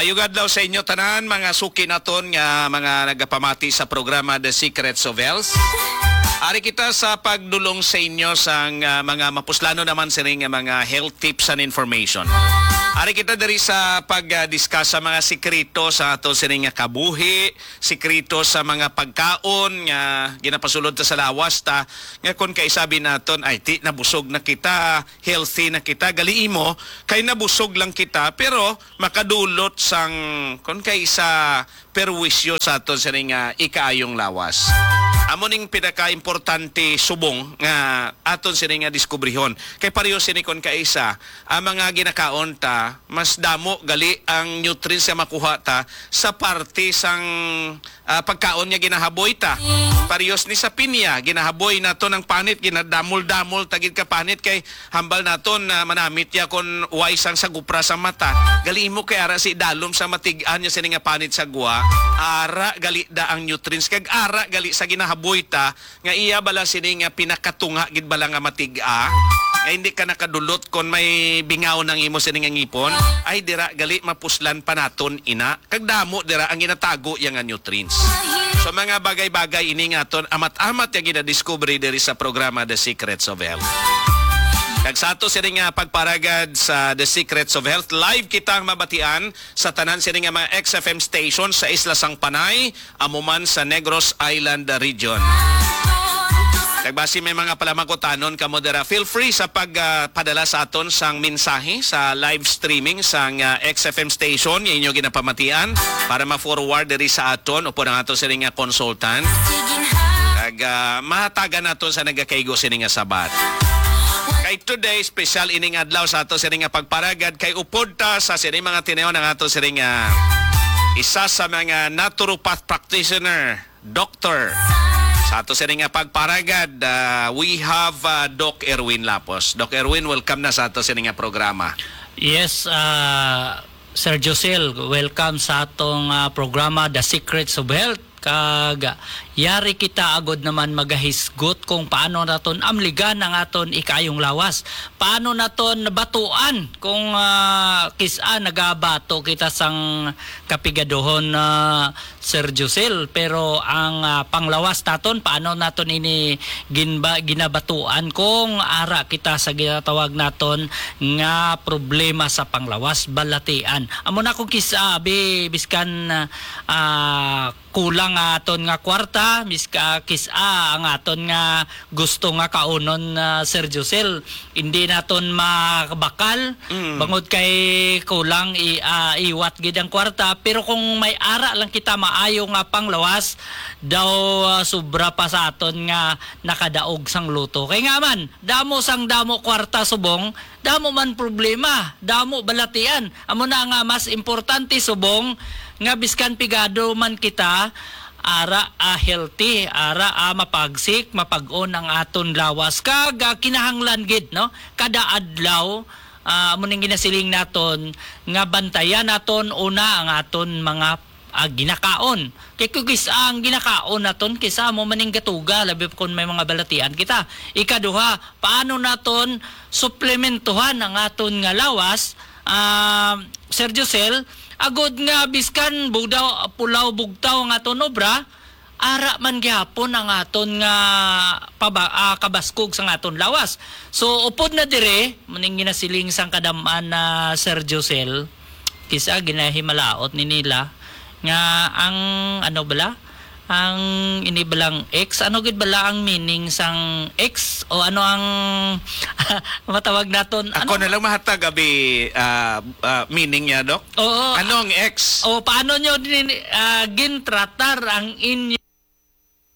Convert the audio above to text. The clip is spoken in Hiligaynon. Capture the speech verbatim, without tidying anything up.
Maayong adlaw sa inyo tanan, mga suki naton nga mga nagapamati sa programa The Secrets of Health. Ari kita sa pagdulong sa inyo sang, ah, mga mapuslano naman sini nga mga health tips and information. Ari kita diri sa pag, ah, discuss sa mga sikreto sa ato sini nga kabuhi, sikreto sa mga pagkaon nga ginapasulod ta sa lawas ta, nga kon kay sabi naton, "Ay, ti, nabusog na kita, healthy na kita." Gali imo, kay nabusog lang kita, pero makadulot sang, kon kay sa perwisyo sa aton sini nga ikaayong lawas. Amo ning pinakaimportante subong nga aton sini nga diskubrihon. Kay pareho sini kon kaisa, ang mga ginakaon ta, mas damo gali ang nutrients nga makuha ta sa parte sang, ah, pagkaon nga ginahaboy ta. Parehos ni sa pinya, ginahaboy naton ang panit, ginadamol-damol ta gid ka panit kay hambal naton na manamit ya kon way sang sagupra sa mata. Gali imo kay ara si dalom sa matig-an niya sini nga panit sa gwa. Ara gali da ang nutrients kag ara gali sa ginahaboy ta nga iya bala sini nga pinakatunga gid bala nga matig-a. Nga hindi ka nakadulot kon may bingaw nang imo sini nga ngipon. Ay dira gali mapuslan pa naton ina. Kag damo dira ang ginatago iya nga nutrients. So, mga bagay-bagay ini nga aton amat-amat nga ginadiskubre diri sa programa The Secrets of Health. Kag sa ato sini nga pagparagad sa The Secrets of Health, live kitang mabatian sa tanan sini nga mga X F M station sa Isla sang Panay, amo man sa Negros Island Region. Kag basi may mga palamangkutanon kamo dira, feel free sa pag, ah, padala sa aton sang mensahe sa live streaming sang, ah, X F M station nga inyo ginapamatian para ma-forward diri sa aton upod ang ato sini nga consultant. Kag, ah, mahatagan naton sa nagakaigo sini nga sabat. Kay today, special ining adlaw sa ato sini nga pagparagad kay upod ta sa sini mga tinaw ng ato sini nga isa sa mga naturopath practitioner, doctor. Sa ato sini nga pagparagad, ah, we have, ah, Doc Erwin Lapos. Doc Erwin, welcome na sa ato sini nga programa. Yes, ah, Sir Josel, welcome sa atong, ah, programa, The Secrets of Health. Kag yari kita agod naman magahisgot kung paano naton amligan ang aton ikayong lawas. Paano naton batuan kung, ah, kis-a nagabato kita sang kapigaduhon, ah, Sir Josel, pero ang, ah, panglawas naton, paano naton ini ginba-, ginabatuan kung ara kita sa ginatawag naton nga problema sa panglawas, balatian? Amo na kung kis-a, abi, biskan, ah, kulang nga aton nga kwarta, miska kis-a ang aton nga gusto nga kaunon, ah, Sir Josel, hindi naton makabakal, Mm. bangod kay kulang i-, ah, iwat gid ang kwarta. Pero kung may ara lang kita maayo nga panglawas, daw, ah, sobra pa sa aton nga nakadaog sang luto. Kay nga man, damo sang damo kwarta subong, damo man problema, damo balatian. Amo na nga mas importante subong nga biskan pigado man kita, ara, ah, healthy, ara, ah, mapagsik, mapag-on ang aton lawas. Kag, ah, kinahanglan gid, no? Kada adlaw, ah, amo ning ginasiling naton nga bantayan naton una ang aton mga, ah, ginakaon. Kay kung kis-a ang ginakaon naton, kis-a amo man ning gatuga, labi pa kung may mga balatian kita. Ikaduha, paano naton suplementuhan ang aton nga lawas, ah, Sir Josel, agod nga biskan bugdaw, pulaw, bugtaw ang aton obra, ara man gihapon ang aton nga paba-, ah, kabaskog sang aton lawas. So, upod na dire, muning ginasiling sang kadam-an na Sir Josel, kis-a ginahimalaot ni nila nga ang, ano bala, ang ini balang X, ano gid bala ang meaning sang X? O ano ang matawag naton? Ako Ano? na lang mahatag, abi, ah, ah, meaning niya, Doc. Oo. Ano ang X? O, paano nyo din, ah, gintratar ang inyo